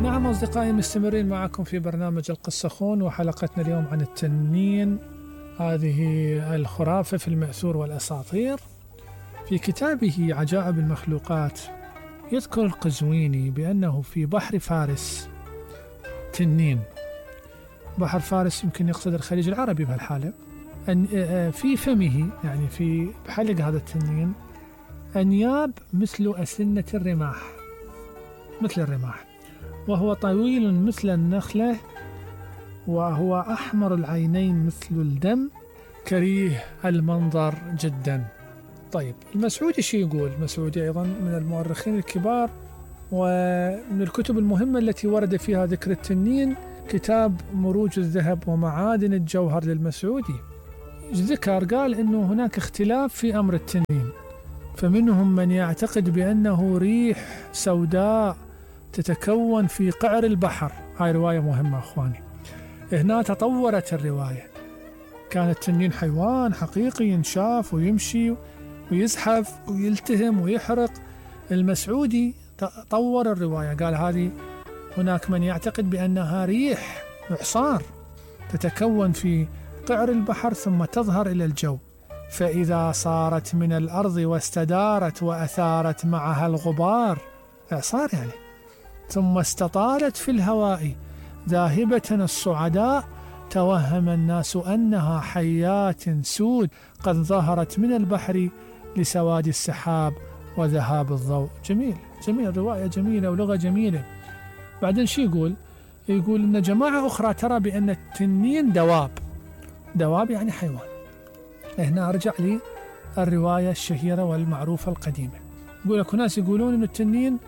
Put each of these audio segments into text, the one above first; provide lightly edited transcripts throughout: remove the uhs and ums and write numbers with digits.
نعم أصدقائي، مستمرين معكم في برنامج القصة خون، وحلقتنا اليوم عن التنين، هذه الخرافة في المأثور والأساطير. في كتابه عجائب المخلوقات يذكر القزويني بأنه في بحر فارس تنين. بحر فارس يمكن يقصد الخليج العربي بهالحالة. أن في فمه، يعني في حلق هذا التنين، أنياب مثل أسنة الرماح، مثل الرماح، وهو طويل مثل النخلة، وهو أحمر العينين مثل الدم، كريه المنظر جدا. طيب، المسعودي شو يقول؟ المسعودي أيضا من المؤرخين الكبار، ومن الكتب المهمة التي ورد فيها ذكر التنين كتاب مروج الذهب ومعادن الجوهر للمسعودي. ذكر قال إنه هناك اختلاف في أمر التنين، فمنهم من يعتقد بأنه ريح سوداء تتكون في قعر البحر. هاي رواية مهمة أخواني. هنا تطورت الرواية، كان التنين حيوان حقيقي ينشاف ويمشي ويزحف ويلتهم ويحرق. المسعودي طور الرواية، قال هذه هناك من يعتقد بأنها ريح إعصار تتكون في قعر البحر ثم تظهر إلى الجو، فإذا صارت من الأرض واستدارت وأثارت معها الغبار، إعصار يعني، ثم استطالت في الهواء ذاهبة الصعداء، توهم الناس أنها حيات سود قد ظهرت من البحر لسواد السحاب وذهاب الضوء. جميل جميل، رواية جميلة ولغة جميلة. بعدين شو يقول؟ يقول إن جماعة أخرى ترى بأن التنين دواب. دواب يعني حيوان. هنا أرجع لي الرواية الشهيرة والمعروفة القديمة. يقول لك ناس يقولون أن التنين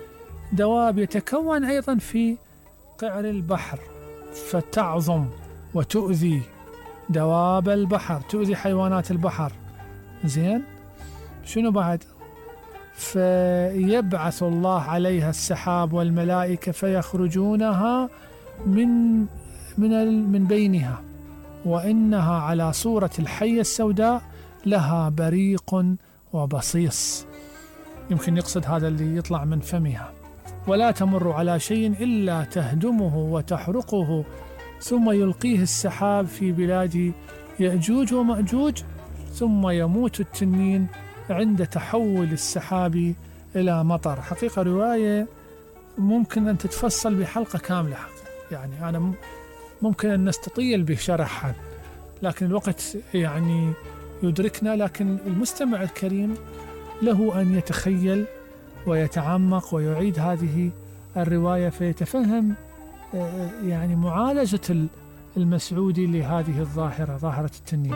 دواب يتكون أيضا في قعر البحر فتعظم وتؤذي دواب البحر، تؤذي حيوانات البحر. زين، شنو بعد؟ فيبعث الله عليها السحاب والملائكة فيخرجونها من بينها، وإنها على صورة الحية السوداء لها بريق وبصيص. يمكن يقصد هذا اللي يطلع من فمها. ولا تمر على شيء إلا تهدمه وتحرقه، ثم يلقيه السحاب في بلاد يأجوج ومأجوج، ثم يموت التنين عند تحول السحاب إلى مطر. حقيقة رواية ممكن أن تتفصل بحلقة كاملة، يعني أنا ممكن أن نستطيل بشرحها، لكن الوقت يعني يدركنا. لكن المستمع الكريم له أن يتخيل ويتعمق ويعيد هذه الرواية فيتفهم يعني معالجة المسعودي لهذه الظاهرة، ظاهرة التنين.